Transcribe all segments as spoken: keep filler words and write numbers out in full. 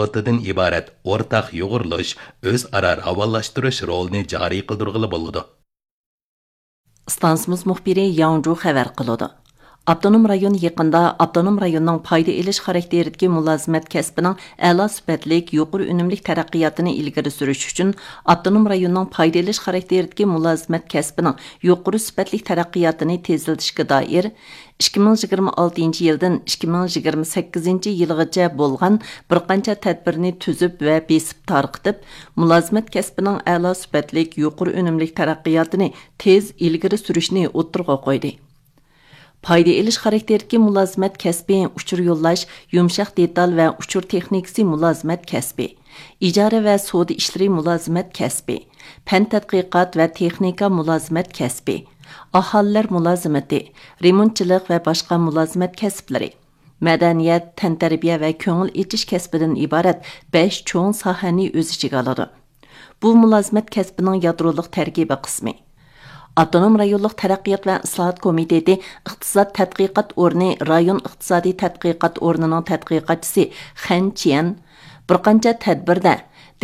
ئىبارەت ئورتاق يۇغۇرۇلۇش، ئۆزئارا راۋانلاشتۇرۇش رولىنى جارى قىلدۇرغىلى بولىدۇ. ئىستانسىمىز مۇخبىرى ياڭجۇ خەۋەر قىلىدۇ. ئاپتونوم رايون يېقىندا ئاپتونوم رايوننىڭ پايدا ئېلىش خاراكتېرىدىكى مۇلازىمەت كەسپىنىڭ ئەلا سۈپەتلىك، يۇقىرى ئۈنۈملۈك تەرەققىياتىنى ئىلگىرى سۈرۈش ئۈچۈن، ئاپتونوم رايوننىڭ پايدا ئېلىش خاراكتېرىدىكى مۇلازىمەت كەسپىنىڭ يۇقىرى سۈپەتلىك تەرەققىياتىنى تېزلىتىشكە دائىر ئىككى مىڭ يىگىرمە ئالتىنچى يىلدىن ئىككى مىڭ يىگىرمە سەككىزىنچى يىلغىچە بولغان بىر قانچە تەدبىرنى تۈزۈپ ۋە بېسىپ تارقىتىپ، مۇلازىمەت كەسپىنىڭ ئەلا سۈپەتلىك، يۇقىرى ئۈنۈملۈك تەرەققىياتىنى تېز ئىلگىرى سۈرۈشنى ئوتتۇرىغا قويدى. پايدا ئېلىش خاراكتېرىدىكى مۇلازىمەت كەسپى ئۇچۇر يوللاش، يۇمشاق دېتال ۋە ئۇچۇر تېخنىكىسى مۇلازىمەت كەسپى، ئىجارە ۋە سودا ئىشلىرى مۇلازىمەت كەسپى، پەن تەتقىقات ۋە تېخنىكا مۇلازىمەت كەسپى، ئاھالىلەر مۇلازىمىتى، رېمونتچىلىق ۋە باشقا مۇلازىمەت كەسىپلىرى، مەدەنىيەت، تەنتەربىيە ۋە كۆڭۈل ئېچىش كەسپىدىن ئىبارەت بەش چوڭ ساھەنى ئۆز ئىچىگە ئالىدۇ. بۇ مۇلازىمەت كەسپىنىڭ يادرولۇق تەركىبىي قىسمى. ئاپتونوم رايونلۇق تەرەققىيات ۋە ئىسلاھات كومىتېتى ئىقتىساد تەتقىقات ئورنى رايون ئىقتىسادىي تەتقىقات ئورنىنىڭ تەتقىقاتچىسى خەن چيەن بىر قانچە تەدبىردە،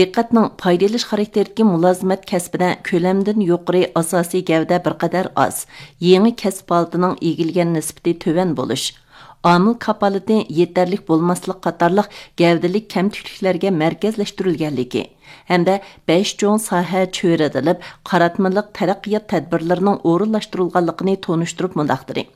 دىققەتنىڭ پايدا ئېلىش خاراكتېرىدىكى مۇلازىمەت كەسپىدە كۆلەمدىن يۇقىرى ئاساسىي گەۋدە بىر قەدەر ئاز، يېڭى كەسىپ ھالىتىنىڭ ئىگىلىگەن نىسبىتى تۆۋەن بولۇش، ئامىل كاپالىتى يېتەرلىك بولماسلىق قاتارلىق گەۋدىلىك كەمتۈكلۈكلەرگە مەركەزلەشتۈرۈلگەنلىكى ھەمدە بەش چوڭ ساھە چۆرىدىلىپ، قاراتمىلىق تەرەققىيات تەدبىرلىرىنىڭ ئورۇنلاشتۇرۇلغانلىقىنى تونۇشتۇرۇپ مۇنداق دېدى: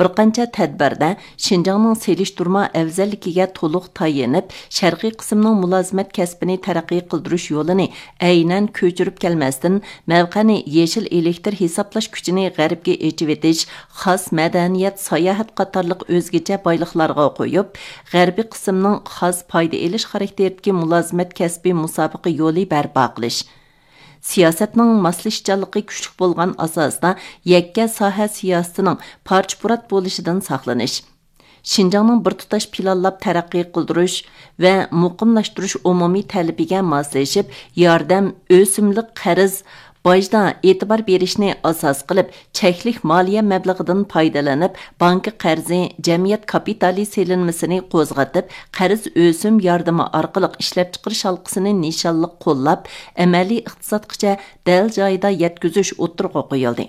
بىر قانچە تەدبىردە شىنجاڭنىڭ سېلىشتۇرما ئەۋزەللىكىگە تولۇق تايىنىپ، شەرقىي قىسىمنىڭ مۇلازىمەت كەسپىنى تەرەققىي قىلدۇرۇش يولىنى ئەينەن كۆچۈرۈپ كەلمەستىن، مەۋقەنى يېشىل ئېلېكتر ھېسابلاش كۈچىنى غەربكە ئېچىۋېتىش، خاس مەدەنىيەت، ساياھەت قاتارلىق ئۆزگىچە بايلىقلارغا قويۇپ، غەربىي قىسىمنىڭ خاس پايدا ئېلىش خاراكتېرىدىكى مۇلازىمەت كەسپى مۇسابىقە يولى بەرپا قىلىش، سىياسەتنىڭ ماسلىشىشچانلىقى كۈچلۈك بولغان ئاساستا يەككە ساھە سىياسىتىنىڭ پارچە-پۇرات بولۇشىدىن ساقلىنىش، شىنجاڭنىڭ بىر تۇتاش پىلانلاپ تەرەققىي قىلدۇرۇش ۋە مۇقىملاشتۇرۇش ئومۇمىي تەلىپىگە ماسلىشىپ، ياردەم، ئۆسۈملۈك قەرز، باجدا ئېتىبار بېرىشنى ئاساس قىلىپ، چەكلىك مالىيە مەبلىغىدىن پايدىلىنىپ، بانكا قەرزى، جەمئىيەت كاپىتالى سېلىنمىسىنى قوزغىتىپ، قەرز ئۆسۈم ياردىمى ئارقىلىق ئىشلەپچىقىرىش ھالقىسىنى نىشانلىق قوللاپ، ئەمەلىي ئىقتىسادقىچە دەل جايىدا يەتكۈزۈش ئوتتۇرىغا قويۇلدى.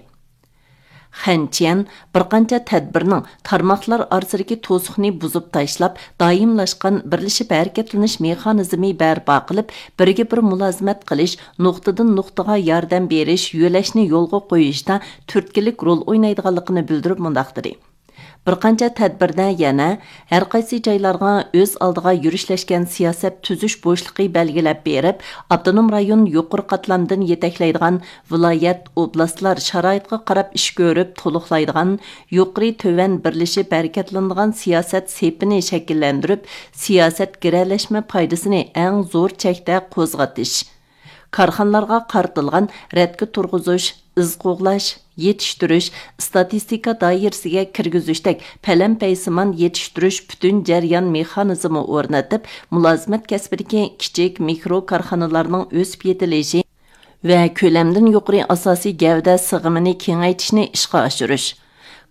خەن چيەن بىر قانچە تەدبىرنىڭ تارماقلار ئارىسىدىكى توسۇقنى بۇزۇپ تاشلاپ، دائىملاشقان بىرلىشىپ ھەرىكەتلىنىش مېخانىزمى بەرپا قىلىپ، بىرگە بىر مۇلازىمەت قىلىش، نۇقتىدىن نۇقتىغا ياردەم بېرىش، يۆلەشنى يولغا قويۇشتا تۈرتكىلىك رول ئوينايدىغانلىقىنى بىلدۈرۈپ مۇنداق دېدى: بىر قانچە تەدبىردە يەنە ھەر قايسى جايلارغا ئۆز ئالدىغا يۈرۈشلەشكەن سىياسەت تۈزۈش بوشلۇقى بەلگىلەپ بېرىپ، ئاپتونوم رايون يۇقىرى قاتلامدىن يېتەكلەيدىغان ۋىلايەت، ئوبلاستلار شارائىتقا قاراپ ئىش كۆرۈپ تولۇقلايدىغان يۇقىرى تۆۋەن بىرلىشىپ ھەرىكەتلىنىدىغان سىياسەت سېپىنى شەكىللەندۈرۈپ، سىياسەت گىرەلەشمە پايدىسىنى ئەڭ زور چەكتە قوزغىتىش، كارخانىلارغا قارىتىلغان رەتكە تۇرغۇزۇش، ئىز قوغلاش، يېتىشتۈرۈش، ئىستاتىستىكا دائىرىسىگە كىرگۈزۈشتەك پەلەمپەيسىمان يېتىشتۈرۈش پۈتۈن جەريان مېخانىزمى ئورنىتىپ، مۇلازىمەت كەسپىدىكى كىچىك، مىكرو كارخانىلارنىڭ ئۆسۈپ يېتىلىشى ۋە كۆلەمدىن يۇقىرى ئاساسىي گەۋدە سىغىمىنى كېڭەيتىشنى ئىشقا ئاشۇرۇش،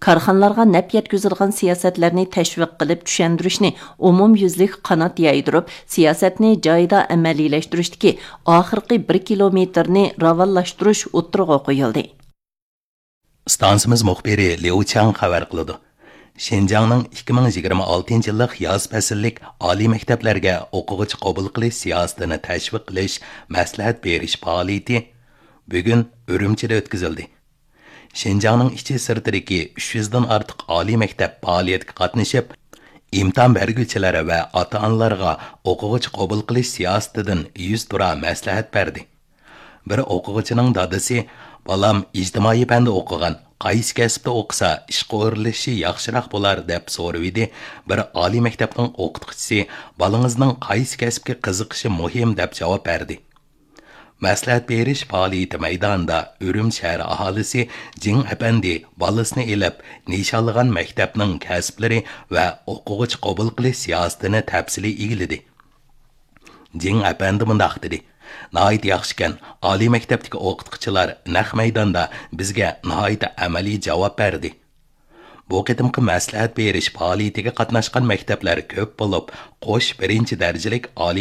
كارخانىلارغا نەپ يەتكۈزىدىغان سىياسەتلەرنى تەشۋىق قىلىپ چۈشەندۈرۈشنى ئومۇميۈزلۈك قانات يايدۇرۇپ، سىياسەتنى جايىدا ئەمەلىيلەشتۈرۈشتىكى ئاخىرقى بىر كىلومېتىرنى راۋانلاشتۇرۇش ئوتتۇرىغا قويۇلدى. ئىستانسىمىز مۇخبىرى ليۇ چاڭ خەۋەر قىلىدۇ. شىنجاڭنىڭ ئىككى مىڭ يىگىرمە ئالتىنچى يىللىق ياز پەسىللىك ئالىي مەكتەپلەرگە ئوقۇغۇچى قوبۇل قىلىش سىياسىتىنى تەشۋىق قىلىش، مەسلىھەت بېرىش پائالىيىتى بۈگۈن ئۈرۈمچىدە ئۆتكۈزۈلدى. شىنجاڭنىڭ ئىچى سىرتىدىكى ئۈچ يۈزدىن ئارتۇق ئالىي مەكتەپ پائالىيەتكە قاتنىشىپ، ئىمتىھان بەرگۈچىلەر ۋە ئاتا-ئانىلارغا ئوقۇغۇچى قوبۇل قىلىش سىياسىتىدىن يۈزتۇرا مەسلىھەت بەردى. بىر ئوقۇغۇچىنىڭ دادىسى، «بالام ئىجتىمائىي پەندە ئوقۇغان، قايسى كەسىپتە ئوقۇسا ئىشقا ئورۇنلىشىشى ياخشىراق بولار؟» دەپ سورىۋىدى. بىر ئالىي مەكتەپنىڭ ئوقۇتقۇچىسى، «بالىڭىزنىڭ قايسى كەسىپكە قىزىقىشى مۇھىم» دەپ جاۋاب بەردى. مەسلىھەت بېرىش پائالىيىتى مەيدانىدا ئۈرۈمچى شەھەر ئاھالىسى جىڭ ئەپەندى بالىسىنى ئېلىپ، نىشانلىغان مەكتەپنىڭ كەسىپلىرى ۋە ئوقۇغۇچى قوبۇل قىلىش سىياسىتىنى تەپسىلىي ئىگىلىدى. جىڭ ئەپەندى مۇنداق دېدى: «ناھايىتى ياخشىكەن، ئالىي مەكتەپتىكى ئوقۇتقۇچىلار نەق مەيداندا بىزگە ناھايىتى ئەمەلىي جاۋاب بەردى.» بۇ قېتىمقى مەسلىھەت بېرىش پائالىيىتىگە قاتناشقان مەكتەپلەر كۆپ بولۇپ، قوش بىرىنچى دەرىجىلىك ئالىي